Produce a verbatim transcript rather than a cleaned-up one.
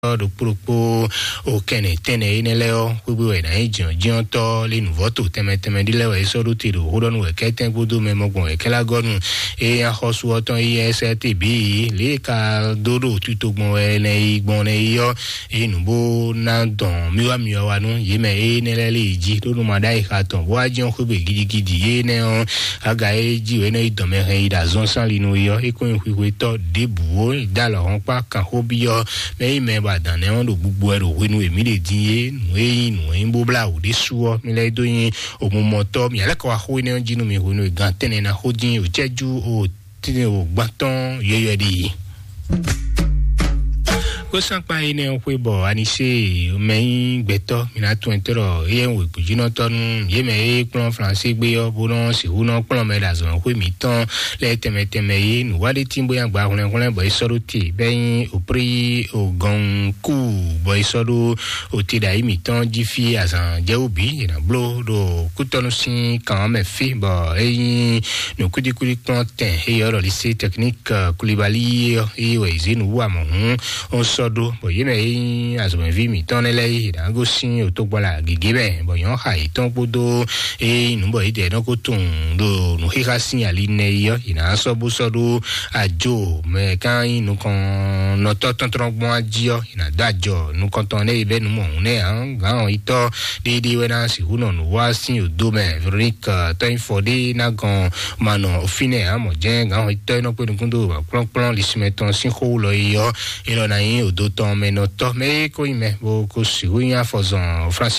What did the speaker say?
ɖokpó ɖokpó o kɛnɛ tɛnɛ énɛ́ lɛ́ɛ ɔ́, xwégbé wɛ ná nyí jǐnjɔ́njínɔ́tɔ́ lé nǔvɔ́ to tɛnmɛ tɛnmɛ ɖé lɛ́ɛ wɛ é sɔ́ ɖó te ɖo xó ɖɔ nú wɛ kɛ́tɛ́n kpódó mɛ mɔgbɔn wɛ kɛ́ lá gɔ́ nu. Eye axɔ́sú ɔ́ tɔn yi S R T B lě e ka dó ɖo tito gbɔn wɛ nɛ yi gbɔn nɛ yi ɔ́, eye nǔ bó ná dɔn myɔ́wá myɔ́wá nú yě mɛ énɛ́ lɛ́ɛ lé yi jí ɖó nú ma ɖ'ayǐ xa tɔn bó wá jɛ́n xwégbé gidigidi énɛ́ ɔ́. Aga e jí wě nɔ yi dɔn mɛ hɛn yi ɖo azɔn sán li nú yi ɔ́, é kó nyí xwixwetɔ́ ɖěbǔ ó dó alɔ hɔn kpá kan xó byɔ́ mɛ yi mɛ bɔ adǎn nɛ́ ɔ́ ɖo gbogbo wɛ ɖo hwenu e mǐ ɖe din é, nǔ e nyí nǔ e nyí bó blá wǔ ɖésú ɔ́, mi lɛ́ dó nyi omumɔtɔ́, mi alɛ́ kɔ wá xó énɛ́ ɔ́ jí nú mi hwenu e gan tɛ́nnɛ ná xó dín o cɛ́jú o tíni o gbán tɔn yɔyɔ ɖi. Kó sánkpa énɛ́ ɔ́ xwé bɔ anisé mɛ nyí gbɛtɔ́ mi ná tún ɛtɔ́ ɖɔ éyɛ́ ń wěgbójínɔtɔ́ nú yě mɛ e kplɔ́n Flansé gbé ɔ́, bó nɔ́ sixú nɔ́ kplɔ́n mɛ ɖo azɔ̌ xwé mǐtɔn lɛ́ɛ tɛnmɛ tɛnmɛ é. Nǔwáɖétín bó nyí agba hwlɛ́nhwlɛ́n bɔ é sɔ́ ɖó te bɔ é nyí oprí ogɔnkú bɔ é sɔ́ ɖó oti ɖo ayǐ mǐtɔn jí fí azǎn jɛwú bǐ è nǎ bló ɖo kútɔ́nú sín kan ɔ́ mɛ fí bɔ é nyí nǔkúdíkúdí kplɔ́n tɛn é yɔ ɖɔ lycée technique Koulibaly ɔ́ é wɛ è zě nǔ wú amɔ̌ hǔn ó sɔ́ ɖó bɔ yě mɛ é nyí azɔ̌mɛví mǐtɔn nɛ́ lɛ́ɛ é nǎ gosín otogbɔla gěgé mɛ bɔ nyɔ̌ xa yětɔn kpódó é nyí nǔ bɔ yě dɛ nɔ ko tunwun ɖo nǔxixa sín ali nɛ yi ɔ́, yě ná sɔ́ bó sɔ́ ɖó ajo mɛ ká nyí nukɔnnɔtɔ́ tɔ́ntɔ́n gbɔn jí ɔ́, yě ná dó ajɔ nukɔntɔn nɛ́ yi bɛ́ nǔ mɔ̌hun nɛ́ ǎ. Gǎn ɔ́ yi tɔ́ ɖéɖé wɛ ná sixú nɔ nǔ wá sín odo mɛ. Véronique tɔ́nyifɔ ɖé ná gɔn ma nɔ fínɛ́ ǎ mɔ jɛ́n gǎn ɔ́ yi tɔ́ é nɔ kpé nukún dó kplɔ́nkplɔ́n lisumɛ tɔn sín xó wú lɔ yi ɔ́, é lɔ ná nyí odo tɔn mɛ nɔ tɔ́ mɛ é kó nyí mɛ bó kó sixú nyí afɔzɔn Francis